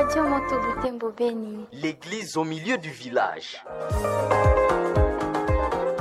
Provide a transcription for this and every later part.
Radio Moto Butembo Beni. L'église au milieu du village.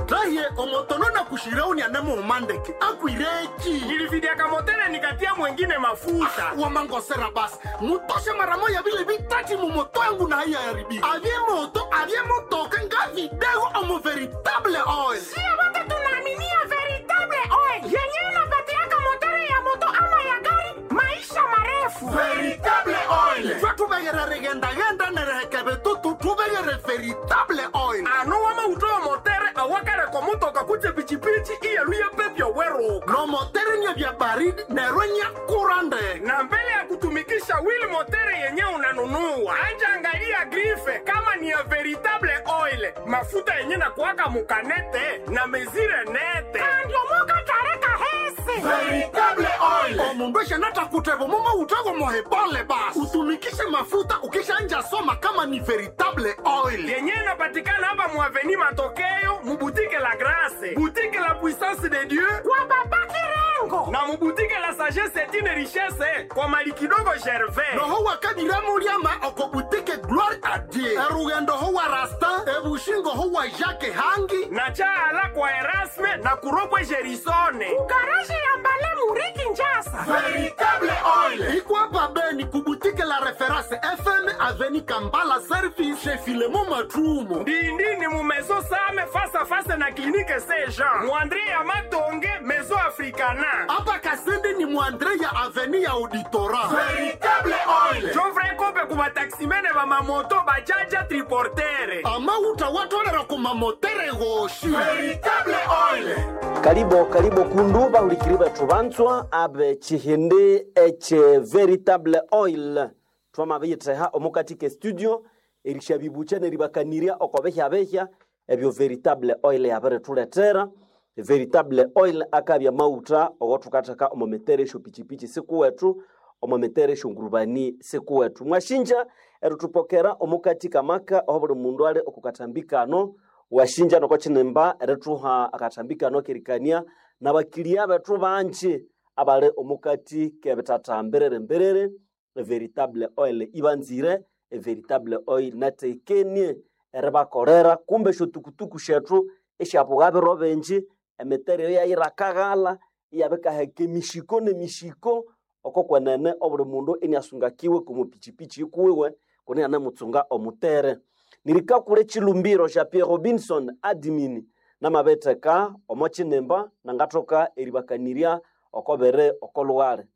Raye omotono na kushirauni anemo umandeke akwireki Nilividiaka motele nikatia mwengine mafuta. Wamangosera basi mutoshe mara moya vile vitati mumoto yangu na haiya yaribika avye moto avye motoka nga vidego omo veritable oil. Sio wote tunaaminia veritable oil yenyewe inapatiaka motori ya moto ama ya gari maisha marefu. Veritable oil twe tuvegere rigendagenda nerehekeve tutu tuvegere veritable oil. Ano wamautowa motere awakareko motoka kutse pichipichi iyeluye pepyo weruka. No motere nye vya baridi nerwe nye kurande. Na mbele ya kutumikisha wheel motere yenye unanunua, anja angalia grife kama ni ya veritable oil, mafuta yenye na kuwaka mukanete na mezire nete. Andiomoka tareka hese Veritable oil omundu eshanatakutevo mumo utego mohebole basi utumikishe mafuta ukishanja soma kama ni veritable oil. Yenye inapatikana hapa muaveni Matokeo, mubutike la Grace, butike la Puissance de Dieu kwa baba Kirengo na mubutike la Sagesse etine Richesse kwa mali kidogo Gervais. Noho wakadiramuriama okobutike Gloire a Dieu, erugendo ho wa Rastin, ebushingo ho wa Jacques Hangi na chaala kwa Erasme na kuropwe Gerisone. Garaji ya Mbale Muriki Njasa. Veritable oil ikwapa Beni kubutike la Reference FM, aveni Kambala Service chez Filemo Matrumo. Ndindini mu maison Same face à face na clinique Saint Jean. Muandre ya Matonge Maison Africana. Hapa Kasende ni mwandre ya aveni ya Auditora. Veritable oil Jovre kope ku bataximene ba mamoto bajaja triportere. amauta watolera kumamotere goshi. Veritable oil. Karibo karibo kundu bahulikiri bethu banzwa abe chihindi eche veritable oil twamabiyitheha omukatika studio erishabibucha neribakaniria okobehya-behya ebyo veritable oil yabirithuletera. Veritable oil akabya mauta ogothukatheka omo mitere esyopichipichi sikuwethu, omo mitere esyongurubani sikuwethu. Mwashinja erithupokera omukatika maka oho buli mundu ali okukathambikano. Washinja noko kinimba erithuha akathambikano kerikania nabakilia bethu banji abali omukati kebithatha mbiriri mbiriri. Veritable oil ibanzire, veritable oil natekenie eribakolera kumbe esyotukutuku syethu esyabuga biro bingi emitere eyo yayirakaghala iyabikaheka emishiko nemishiko oko kwenene obuli mundu iniasungakiwe komupichipichi ikuwiwe kuni anemutsunga omutere. Nirikakula echilumbiro sya Pierre Robinson admin namabetheka omo kinimba nangathoka eribakanirya okobere okolughale.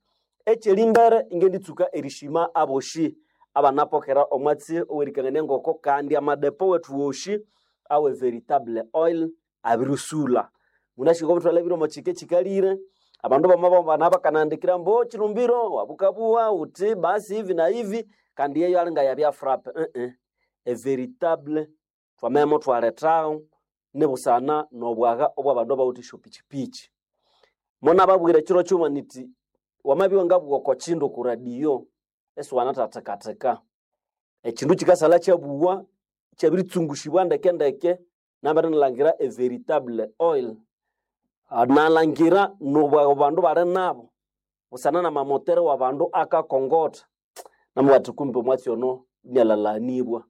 Ekyerimbere ingenditsuka erishima aboshi abanapokera omwatsi owerikangania ngoko kandi amadepo wethu woshi awe veritable oil abirisula. Munashika obuthalha biri omo kike kikalire abandu bamabambana bakanandikira mbo chilumbiro wabukabuwa uti basi hivi na hivi kandi yeyo alinga yabya frappe e veritable twamemo twalethaho nibusana nobwaga obwabandu abawithe esyopichipichi. Mona babwira ekiro kyuma niti wamabya ngabugha oko kindu ku radio esiwanathathekatheka ekindu kikasalha kyabugha kyabiritsungusibwa ndeke ndeke nambere e veritable oil. Nalhangira nobwaga abandu bali nabo busana namamotere wabandu akakongotha namubwira kumbe omwatsi ono inialhalanibwa.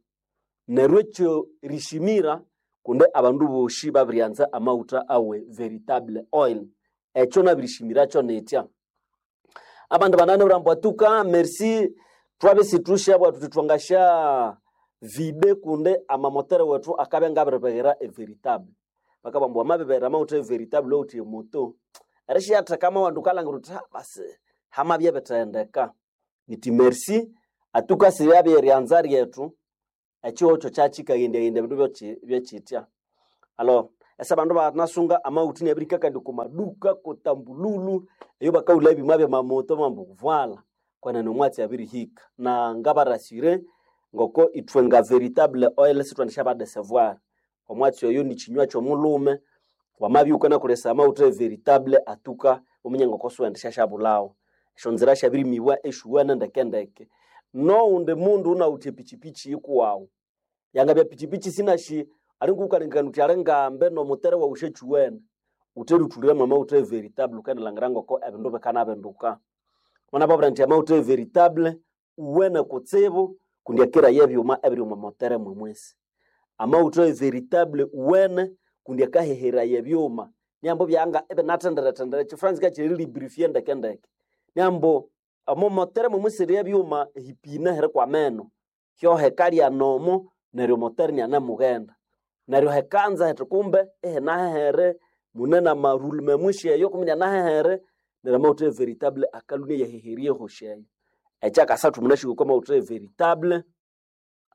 Neryo ekyo rishimira kundi abandu boshi babiryanza amaghutha awe veritable oil. Ekyo nabirishimirakyo nitya. Abandu bananabwira ambu atuka merci thwabya isithushabugha thuthi thwangasya vide kundi amamotere wethu akabya ngabiribighira everitable. Bakabugha ambu wamabibera amawutha everitable owuthi emoto erisyatheka amawandu wukalhangira wuthi basi hamabya bithendeka. Nithi merci atuka siryabya eryanza ryethu ekihugho kyakikaghendaghendya ebindu byakyitya. Alors ese abandu banasunga amawutha inabirihika kandi okwa maduka kutambululu eyo bakawulha ebyuma byamamoto bambu vuala kwenene omwatsi abirihika. Na ngabarasire ngoko ithwe nga veritable oil sithwendisyabadesevoir. Omwatsi oyo nikinywa kyomulhume wamabya iwukanakolesaya amawutha everitable atuka wuminye ngoko siwendisyasyabulhawo. Esyonzira syabirimibwa esyowana ndeke ndeke. Nowundi mundu unawithe epichipichi yikuwawu yangabya pichipichi sinashi alinga wukalengekania wuthi alingambe nomutere wawu syakyiwene wutheruthulira mwamawutha everitable wukanalhangira ngoko ebindu bikanabinduka. Mwanababwira indi amawutha everitable uwene kutsibu. Kundi akeraye ebyuma ebiri omo motere mwemwesi. Amawutha e veritable uwene kundi akaheheraya ebyuma. Niambo byanga ebinathenderethendere ekifranzika kyeri lubrifier ndeke ndeke. Niambo omo motere mwemwesi eri ebyuma ehipina hirikwa ameno. Hyohekalya nomo neryo motere inianemughenda. Neryo hekanza hethi kumbe ihinahehere mune namarulume mwishi eyo kumbe inianahehere neryo amawutha e veritable akalhwa inayaheherya ehosi eyo. Ekyakasathu munashiko okwa mawutha e veritable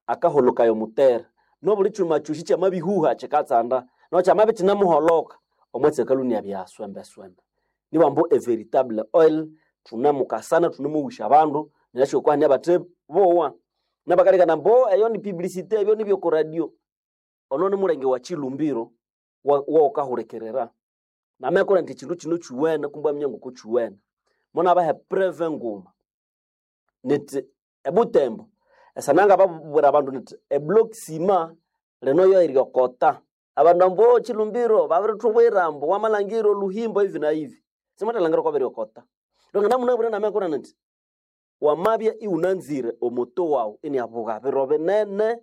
akaholokaya omutere. Nobuli kyuma kyosi kyamabihuha kyikatsanda no kyamabya ikinemuholoka omwatsi akalhwa iniabya swembe swembe. Nibambu e veritable oil thunemukasana thunemoghusya abandu neryo okwa hane abathe bowa. Nabakalekana ambu eyo ni publicité ebyo nibyoko radio. Ono ni mulenge wa Chilumbiro wokahulikirira. Namekolha indi ekyindu kino kyuwene kumbe aminye ngoko kyuwene. Munabaha epreve nguma nithi eButembo esananga babwira abandu nithi eblock ciment lino yo eryokota. Abandu ambu Chilumbiro babirithubwira ambu wamalhangira olhuhimbo hivi na hivi. Simwathalhangira okwa biryokota. Lwangana munabwire namekolha nithi wamabya iwunanzire omoto wawu iniabuga biro binene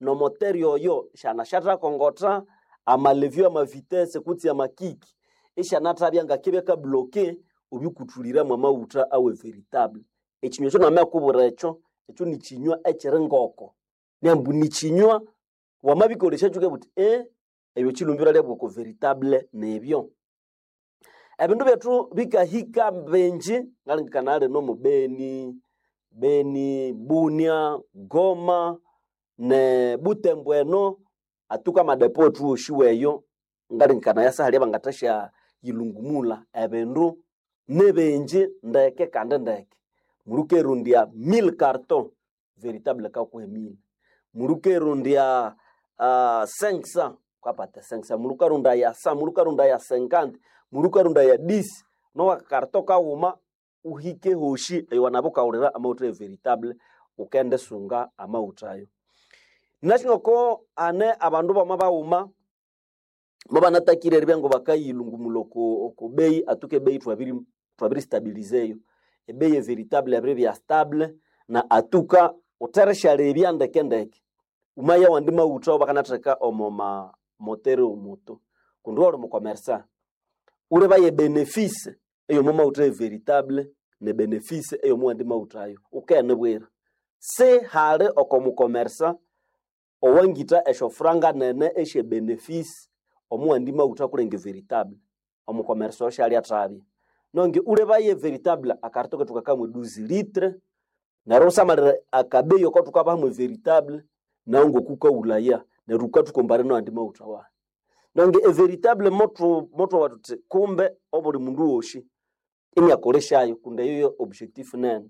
nomoteri oyo syanasyathakongotha amalevyo amavitese kutse amakiki isyanathabya ngakibya kabloke obyukuthulira mwamawutha awe veritable. Ekinywa ekyo namakubwira ekyo, ekyo nikinywa ekiri ngoko. Niambu nikinywa wamabikolesya kyukabugha wuthi ebyo Chilumbiro alyabugha oko veritable nibyo. Ebindu byethu bikahika bingi ngalengekana lino mu Beni, Beni, Bunia, Goma ne Butembo eno atuka amadepo wethu wosi weyo ngalengekana yasahali abangathasya yilungumulha ebindu nibingi ndeke kandi ndeke. Mulikerondya 1000 carton veritable ikakuha 1000. Mulikerondya 500 wukapata 500, mulikarondaya 100, mulikarondaya 50, mulikarondaya 10 nowa carton kawuma uhike hosi ewanabya wukawulira amawutha e veritable wukendisunga amawutha ayo. Nashingoko hane abandu bama baghuma mubanatakire eribya ngabakayilungumulha oko bei atuke ebeyi thwabiri stabilizeyo. Ebeyi e veritable yabiribya stable na atuka wutherisyarebya ndeke ndeke. Wumaya awandi mawutha awabakanatheka omo mamotere omoto kundi iwali mukomersa wulibaya ebenefisi eyomo mawutha e veritable ne benefisi eyomo wandi mawutha ayo wukenibwira. Sihali oko mukomersa owangitha esyofuranga nene esye benefisi omuwandi mawutha kulenga veritable. Omukomersa oyo syalyathabya. Nonge wulebaya veritable akarito kethu kakamwe 12 litre neryo wusamalire akabeyi akathukabaha mwe veritable nawu ngokukawulaya neryo wukathukombare nawandi mawutha wahi. Nonge everitable mothwawa thuthi kumbe obuli mundu wosi iniakolesyayo kundi eyo yo objectif nene.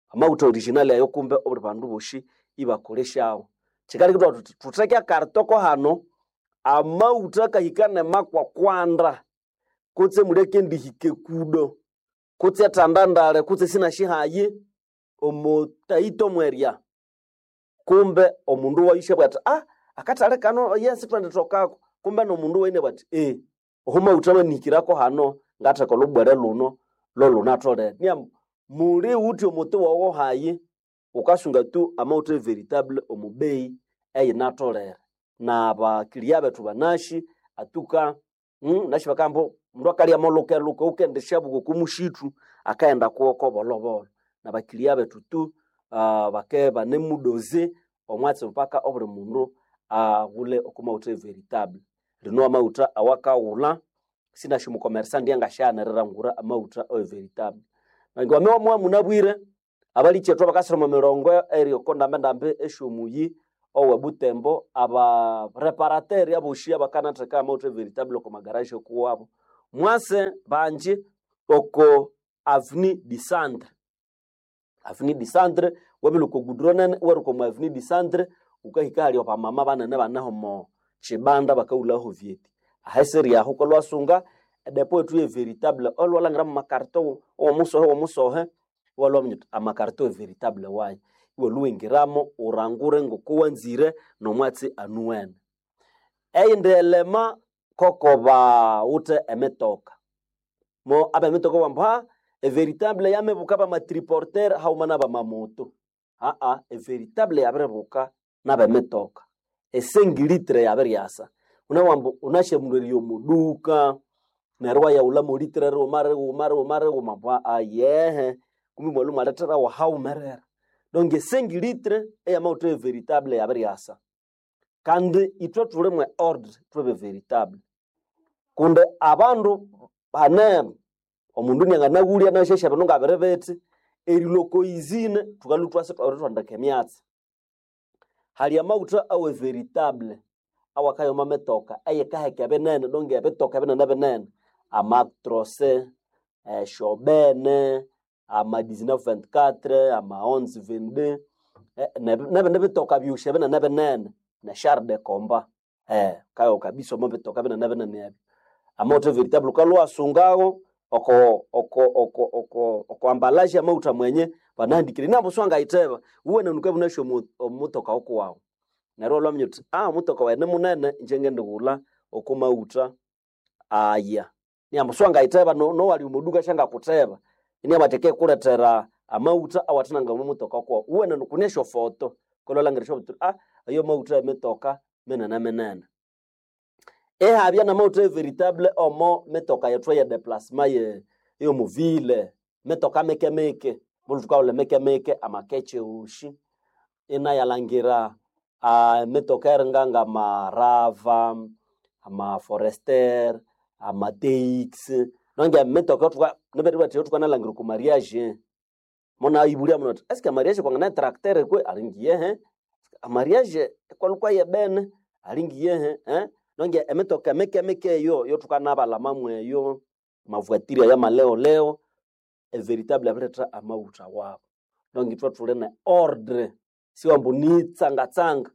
Amawutha original ayo kumbe obuli bandu bosi ibakolesyawo. Kyikaleka ithwabugha thuthi thutheke akarito ko hano amawutha akahika nemakwakwanda kutse muli akendihika ekudo kutse ethandandale kutse sinasyihayi omo taito mwerya kumbe omundu wayu isyabugha athi akathali kano yes thwendithokako kumbe nomundu wayu inabugha athi oho mawutha amanihikirako hano ngatheka olhubwere lhuno lolhunatholere. Niambu muli wuthi omuti waghu hayi wukasunga tu amawutha everitable omu bei eyinatholere. Nabakiliya bethu banasi atuka nasi bakabugha ambu omundu akalya molukeluke wukendisyabuka oko musithu akaghenda kuwoko bolhobolho. Nabakiliya bethu tu bakabya ibanemudoze omwatsi paka obuli mundu aghule oko mawutha everitable. Lino amawutha awakaghulha sinasi omukomersa indi angasyanirira amawutha awe veritable. Neryo wamabya munabwire abalikyethu abakasira omo mirongo eri oko ndambendambi esyomuyi owe Butembo abareparateri abosi abakanatheka amawutha everitable oko magaraji okuwabo. Mwase bangi oko avenue du centre. Avenue du centre wabirihika oko goudron nene iwaruka omo avenue du centre wukahika ahali abamama banene baneho omo kyibanda bakawulhaho vyeti. Ahaseri aho wukalhwasunga edepo yethu ye veritable olhwalhangira mwa makarito owomusohe womusohe iwalhwaminya wuthi amakarito everitable wayi. Iwalhuwingiramo wurangure ngokuwanzire nomwatsi anuwene. Eyindi elema koko bawithe emitoka. Mo abemitoka ibabugha ambu everitable yamibuka bamatriporter haghuma nabamamoto. Aa, everitable yabiribuka n'abemitoka. Esengilitre yabiryasa. Unawambu unashamuleriya omuduka neryo iwayaghulha molitre righuma righuma righuma righuma mbwa ayehe kumbi mwalhu mwaletherawo haghumerera. Donc esengilitre eyamawutha e veritable yabiryasa. Kandi ithwe thuli mwe ordre thwebe veritable. Kundi abandu bane omundu nianganaghulya nasyasya bindu ngabiri bithi erilwa oko izine thukalhwa ithwasa ithwabirithondeka emyatsi. Hali amawutha awe veritable awakaya omo mitoka eyikaheka ebinene donc ebitoka binene binene amatrose, eshobene, ama 1924, ama 1122 nebindi bitoka byosi ebinene binene neshar de combat kayo kabisa omo bitoka binene binene ebyo. Amawutha veritable wukalhwa iwasungawo oko oko oko oko oko emballage amawutha mwenye banahandikire inambu siwangayitheba wuwene nukabya wunasi omutoka wukuwawu. Neryo iwalhwa wuthi omutoka wayi nimunene ingye ngendighulha oko mawutha aya. Inambu siwangayitheba nowali omo duka syangakutheba inabugha athi akikulethera amawutha awathinanga omo mutoka kuwawu. Wuwene kune esyofoto wukalhwa iwalhangira wuthi ayo mawutha emitoka minene minene. Ihabya namawutha veritable omo mitoka yethu eye deplasma eyomuvile mitoka mike mike mbulhu thukahulha mike mike amakekye wosi inayalhangira emitoka eringa ngamarava, amaforester, amaTX nonge emitoka nibethu eyathukanalhangira oko mariage munayibulya mundu athi eske mariage kwangana etracteur kwe alinga iyehe, mariage ikwalhukwa yebene alinga iyehe nonge emitoka mike mike eyo yothukanabalhama mweyo amavuatiri aya maleoleo everitable yabiretha amawutha wabo. Donc ithwe thuli ne ordre siwambu nitsangatsanga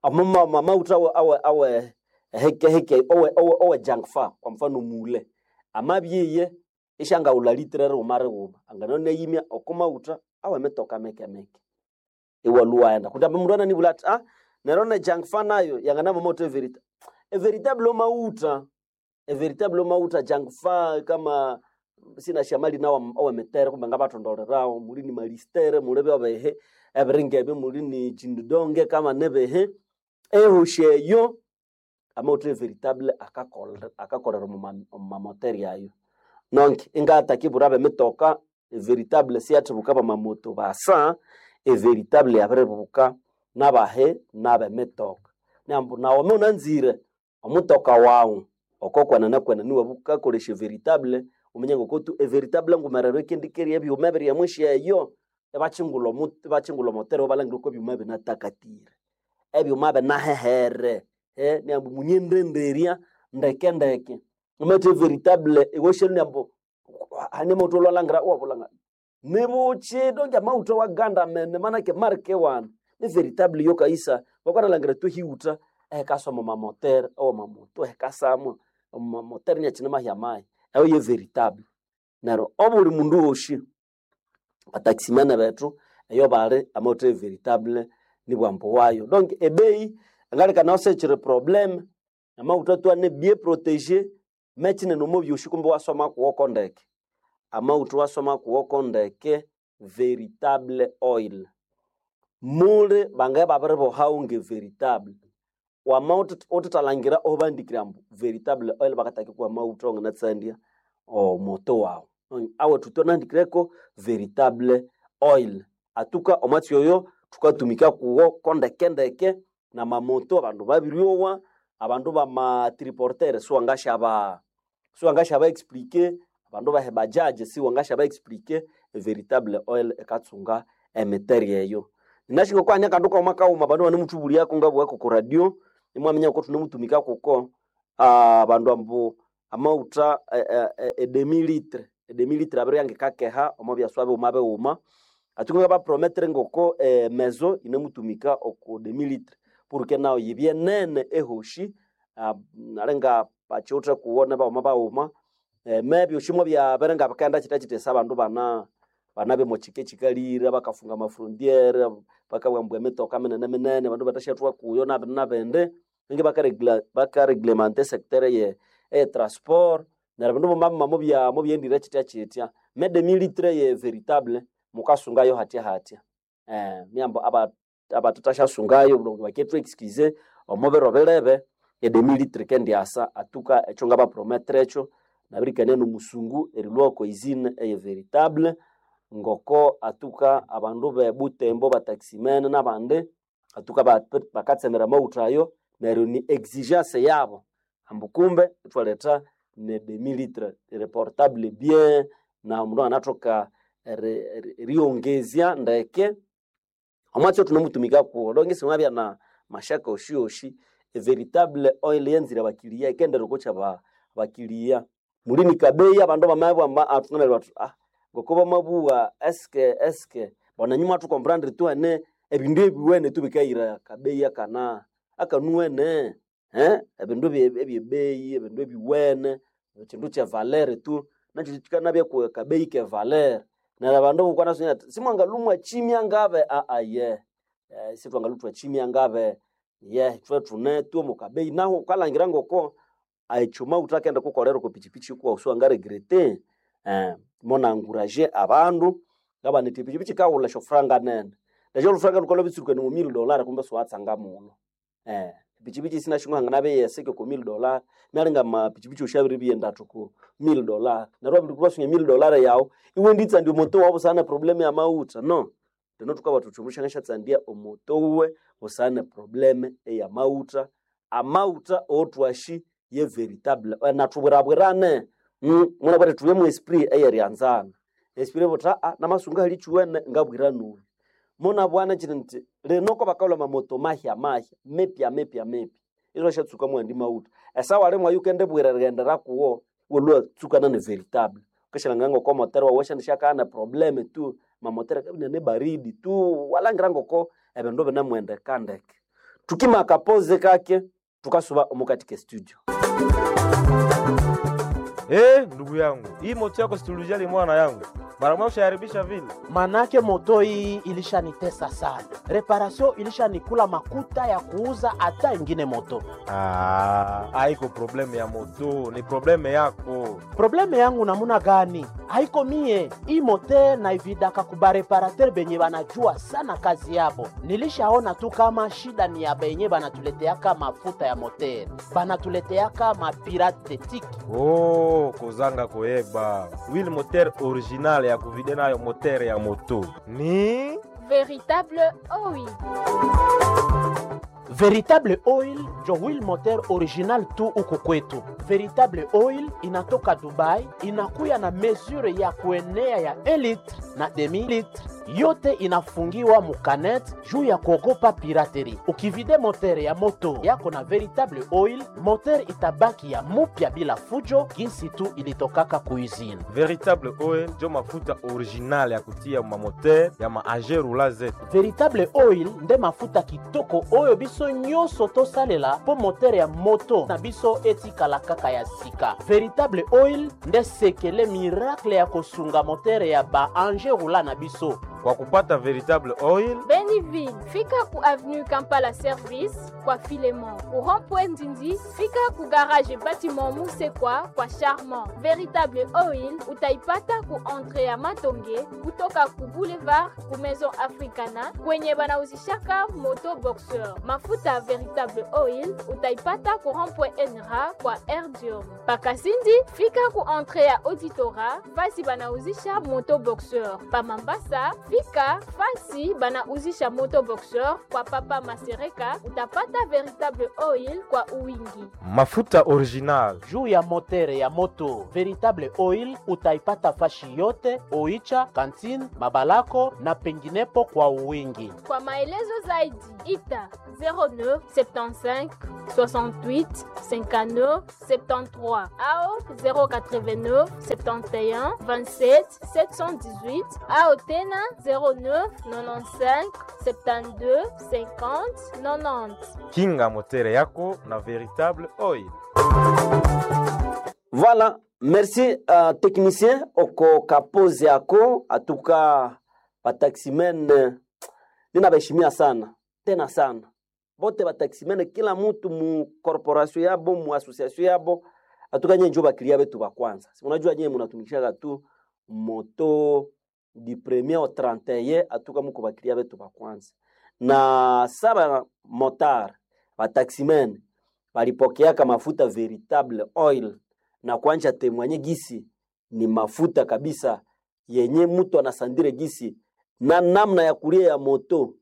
amawutha awe awe heke heke owe owe owe junk fa kwa mfano mule amabyiye isyangaghulha litre righuma righuma angananayimya oko mawutha awe mitoka mike mike iwalhwa iwaghenda kundi ambi mundu ananibulha athi neryo ne junk fa nayo yanganaba amawutha everitable. Everitable mawutha everitable mawutha junk fa kama sinashamali nawo awemitere kumbe ngabathondolerawo muli ni malistere muli byabihi ebiringa ebyo muli ni chindidonge kama nibihi ehosi eyo amawutha everitable akakolera omumamoteri ayo. Donc ingatakibwira abemitoka everitable siyathibuka bamamoto basa everitable yabiribuka nabahi nabemitoka. Nambu nawu wama wunanzire omutoka wawu okokwenene kwenene iwabya wukakolesya veritable wuminye ngokutu everitable ngumerero ikendikeria ebyuma ebiri emwisyo eyo ibakyingulha ibakyingulha omotere ibalhangira okwa ebyuma binatakatire, ebyuma binahehere inabughambu munyendenderya ndeke ndeke. Wamathi everitable iwasyalu ambu hane amawutha iwalhangira iwabulha nibukyi donk amawutha awagandamene manake marike wani ni veritable iyo kayisa wukanalhangira thwahiwutha ehikasa omo mamotere awamamoto ehikasamwa omo mamotere inakyine mahya mahi eyo ye veritable. Neryo obuli mundu wosi bataximene bethu eyo bali amawutha everitable nibwambu wayo. Donc ebeyi ngaleka sikyiri probleme amawutha thwane bien protégé mekyinene omo byosi kumbe iwasoma kuwoko ndeke. Amawutha iwasoma kuwoko ndeke veritable oil. Muli bangaye babiribohawo nge veritable. Wama wuthithalhangira ahubahandikire ambu veritable oil bakathakikuha amawutha awanganatsandya omoto wawu. Awethu thwanahandikireko veritable oil. Atuka omwatsi oyo thukatumika kuwo kondeke ndeke namamoto abandu babiryowa abandu bama triportere siwangasyaba siwangasyaba explique abandu bahe bajaji siwangasyaba explique veritable oil ekatsunga emiteri eyo. Ninasi ngoko akandu kaghuma kaghuma abandu ibanemuthubulyaku ngabugha koko radio imwaminya ngoko thunemutumika kuko abandu ambu amawutha edemi litre edemi litre abiribya ngikakeha omo byaswa bighuma bighuma atsuka ngabapromettere ngoko emezo yinemutumika oko demi litre porque nayo yibye nene ehoshi alinga bakiwuthe kuwo nibaghuma baghuma mebyosi mwabyabere ngabikaghenda kyithya abandu bana banabya omo kyika ekyikalire bakafunga amafrontiere bakabugha ambu emitoka minene minene abandu bathasyathwa kuyo nabindi nabindi ninga bakareglementa esector eye transport neryo ebindu byamabya mubyaghendire kyithya kyithya mede militre ye veritable mukasungayo hathya hathya. Miambo abathathasyasungayo bakethu excuse omo biro bilebe edemi litre ikendiasa atuka ekyo ngabaprometera ekyo nabirikania nomusungu erilhwa oko usine eye veritable ngoko atuka abandu be Butembo bataximene nabandi atuka bakatsemera amaghutha ayo neryo ni exigence yabo ambu kumbe ithwaletha ne demi litre reportable bien na omundu anganathoka eriyongezya ndeke omwatsi othunemutumika kuwo donge simwabya na mashaka oshioshi veritable oil yenzire abakiliya ikendera okokya abakiliya mulini kabeyi abandu bamabya athunganalya bathi ah ngoko bamabugha eske eske bona nyuma thukomprendre tuwane ebindu ebiwene tubikayira kabeyi akana akanuwene ebindu ebyebeyi ebindu ebiwene ekindu kye valere tu nakyo kikanabya ku kabeyi ke valere neryo abandu bukwanasomya ati simwangalumwa chimya ngabe aa ye sithwangaluthwa chimya ngabe ye ithwe thune tu omu kabeyi nahu wukalhangira ngoko ekyuma wuthakenda kukolera oko pichipichi kuwawu siwangaregrete. Monanguraje abandu ngabana indi epichipichi yikawulha esyofuranga nene nesyo olhufuranga lhukalhwa lwabitsurukania omo mille dollar kumbe siwatsanga muno. Epichipichi sinasyo hanganabya eyesike oko mille dollar nalinga amapichipichi osi abiribya endathu ku mille dollar neryo wabirikubasunga mille dollar yawu iwenditsandya omoto wawu busana ne problem eyamaghutha no. Lino thukabugha thuthi omundu syangasyatsandya omoto wuwe busana ne problem eyamaghutha amaghutha owothwashi ye veritable nathubwirabwirane munabwire thube mu esprit eyeryanzana esprit ebuthi aa namasunga hali kyuwene ngabwira nuyu munabwana kyiri nti lino kwabakawulha amamoto mahya mahya mipya mipya mipya isiwashatsuka mughandi maghutha esawa limwe yukendibwira erighendera kuwo iwalhwa tsukana ne veritable wukashalhangira ngoko motere wawu wasyandisyakagha ne probleme tu mamotere akabya inane baridi tu walhangira ngoko ebindu binemughendeka ndeke. Thukima akapoze kake thukasuba omukati ke studio. Ndugu yangu, hii moto yako situlijali mwana yangu. Mara moja ushaharibisha vile. Manake moto hii ilishanitesa sana, reparasio ilishanikula makuta ya kuuza hata ingine moto. Ah, haiko probleme ya moto, ni probleme yako. Probleme yangu namuna gani? Haiko mie hii mote naividaka kubareparater benye banajua sana kazi yabo. Nilishaona tu kama shida ni ya benye banatuleteaka mafuta ya moter, banatuleteaka mapirate tiki. Oh, kozanga koyeba. Wheel moteur original ya kuvide nayo moteur ya moto. Ni Véritable oil. Veritable Oil njo wheel moteur original tu huku kwetu. Veritable Oil inatoka Dubai, inakuya na mesure ya kuenea ya 1 litre na demi litre, yote inafungiwa mukanet juu ya kuogopa pirateri. Ukivide moteur ya moto yako na Veritable Oil, moteur itabaki ya mupya bila fujo, jinsi tu ilitokaka kuizini. Veritable Oil njo mafuta original ya kutia ma moteur ya ma rula zetu. Veritable Oil nde mafuta kitoko oyo biso nyonso tosalela mpo motere ya moto na biso etikala kaka ya sika. Veritable Oil nde sekele miracle ya kosunga motere ya ba ange rula na biso. Kwa kupata Veritable Oil, Beniville, fika ku avenue Kampala Service kwa Filemon. Ku rond-point Ndindi, fika ku garage bâtiment Musekwa kwa Charmant. Véritable Oil utaipata ku entrée ya Matonge kutoka ku boulevard ku Maison Africana kwenye banauzishaka moto boxeur. Mafuta Véritable Oil utaipata ku rond-point Enra kwa Erdium. Pakasindi, fika ku entrée ya Auditora fasi banauzisha moto boxeur. Pa Mambasa, fika fasi banauzisha moto boxeur kwa Papa Masereka utapata Véritable Oil kwa uwingi. Mafuta original juu ya motere ya moto Veritable Oil utaipata fashi yote Oicha, Kantine, Mabalako na penginepo kwa uwingi. Kwa maelezo zaidi ita 09 75 68 59 73 ao 089 71 27 718 ao tena 09 95 72 50 90. Kinga motere yako na Veritable Oil. Voilà, merci technicien oko kapozi yako atuka bataximen ninabaheshimia sana tena sana bote bataximen, kila mutu mu corporation yabo mu association yabo atuka nye njo bakilia betu ba kwanza. Si unajua nye munatumikishaga tu moto. du premier au 31 atuka muko bakiria betu ba kwanza na saba motar bataximen balipokeaka mafuta veritable oil na kuanja temwanye gisi ni mafuta kabisa yenye mtu anasandire gisi na namna ya kulia ya moto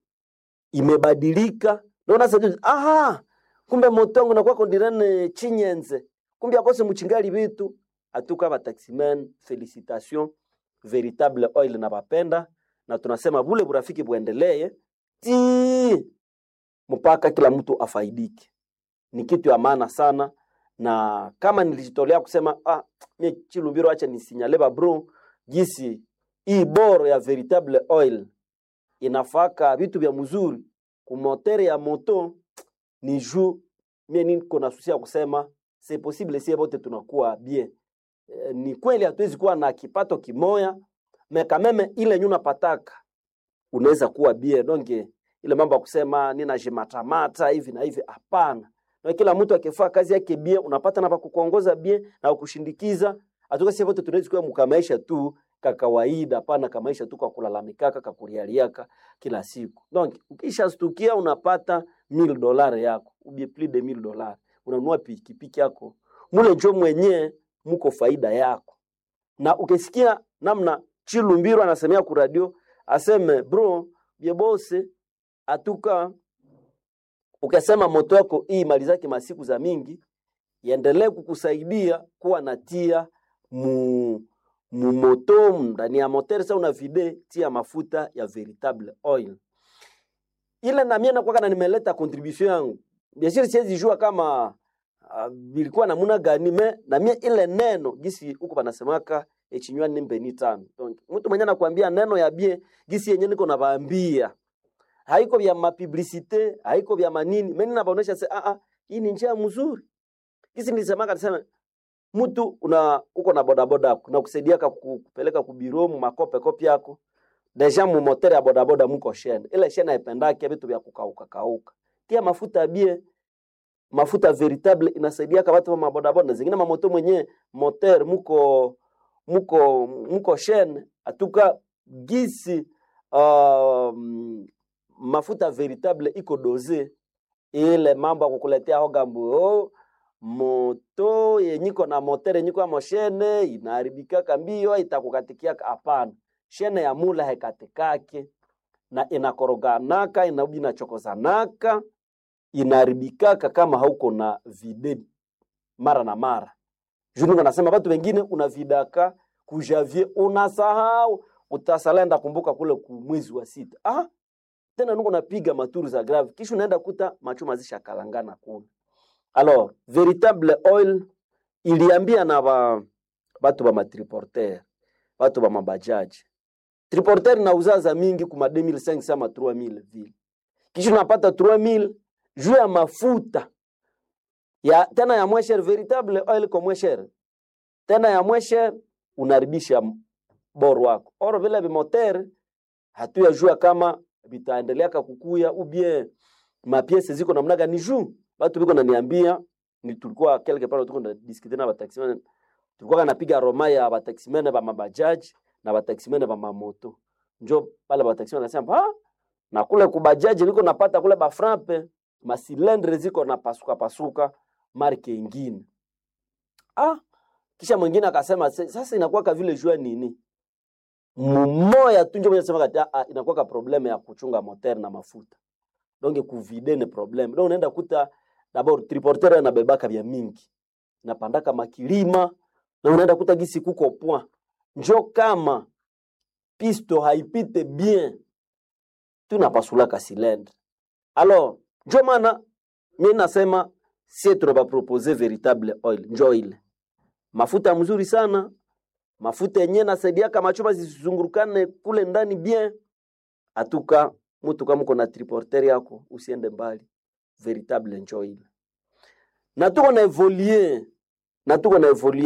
imebadilika. Ndio sasa, aha, kumbe moto wangu nakuwa kondirene chinyenze, kumbe akose muchingali bitu atuka ba taximen, felicitation veritable oil na bapenda, na tunasema bule burafiki buendelee ti mpaka kila mtu afaidike. Ni kitu ya maana sana, na kama nilijitolea kusema ah, mie Chilumbiro, acha nisinyale ba bro gisi hii boro ya veritable oil inafaka vitu vya mzuri kumotere ya moto ni juu mie niko na susia kusema c'est possible sie bote tunakuwa bien. E, ni kweli hatuwezi kuwa na kipato kimoya me kameme ile nyuna pataka unaweza kuwa bien donc ile mambo ya kusema ninajimatamata hivi na hivi hapana. Na kila mtu akifaa kazi yake bien unapata na pakukuongoza bien na kukushindikiza. Atuka sie bote tunaweza kuwa mkamaisha tu ka kawaida, hapana kamaisha tu kwa kulalamikaka kakurialiaka kila siku. Donc ukishastukia unapata $1000 yako ubie plus de $1000 unanunua pikipiki yako mule njo mwenye muko faida yako. Na ukisikia namna Chilumbiro anasemea ku radio aseme bro byebose atuka, ukasema moto yako hii malizake masiku za mingi iendelee kukusaidia kuwa natia mu mumoto ndani ya moteur sa una vide tia mafuta ya veritable oil ile na mie nakuwa na nimeleta contribution yangu. Bien sûr siwezi jua kama bilikuwa namuna gani me na mie ile neno gisi huko panasemaka echinywa ni mbeni tano. Donc mtu mwenye anakuambia neno ya bien gisi yenye niko nabaambia haiko vya mapublicite haiko vya manini mimi nabaonesha se a a hii ni njia mzuri. Gisi nilisemaka nisema mtu una uko na bodaboda yako na kusaidia kupeleka kubiro mu makope kopi yako deja mu moteur ya bodaboda muko shene ile shene haipendake vitu vya kukauka kauka, tia mafuta bie, mafuta veritable inasaidia kwa watu wa mabodaboda zingine mamoto mwenye moteur muko muko muko shene atuka gisi mafuta veritable iko doze ile mambo ya kukuletea hogambu oh, moto yenyiko na motere yenyiko ya moshene inaharibikaka mbio itakukatikia. Hapana, shene ya mula haikatikake na inakoroganaka inabi inachokozanaka inaharibikaka kama hauko na vide mara na mara. Juu nasema watu wengine unavidaka kujavie unasahau utasalenda kumbuka kule ku mwezi wa sita. Ah, tena nuko napiga maturu za grave kisha unaenda kuta machuma zishakalangana kule. Alors, veritable oil iliambia na ba batu ba matriporter, batu ba mabajaji. Triporter na uzaza mingi kuma 2500 ama 3000 vile. Kisha unapata 3000 juu ya mafuta ya tena ya moins cher, veritable oil kwa moins cher. Tena ya moins cher unaribisha boro wako. Oro vile bimoter hatuyajua kama vitaendelea kukuya ou bien mapiese ziko namna gani juu batu biko naniambia ni tulikuwa quelque part tuko na discuter na bataximen, tulikuwa napiga roma ya bataximen ba mabajaji na bataximen ba mamoto, njo pale bataximen nasema ah, na kule kubajaji niko napata kule ba frappe masilendre ziko na pasuka pasuka marke ingine. Ah, kisha mwingine akasema sasa inakuwa ka vile jua nini mumoya tu njo mwenye sema kati ah, inakuwa ka probleme ya kuchunga moteur na mafuta donc kuvide ni probleme. Donc unaenda kuta d'abord triporteur anabebaka vya mingi napandaka makilima na unaenda kuta gisi kuko point njo kama pisto haipite bien tunapasulaka cylindre. Alors njo maana mi nasema sie tunabapropose veritable oil, njo ile mafuta mzuri sana, mafuta yenye nasaidiaka machuma zisizungurukane kule ndani bien. Atuka mtu kama uko na triporter yako usiende mbali, veritable njo ile. Na tuko na evoluer, na tuko na evoluer.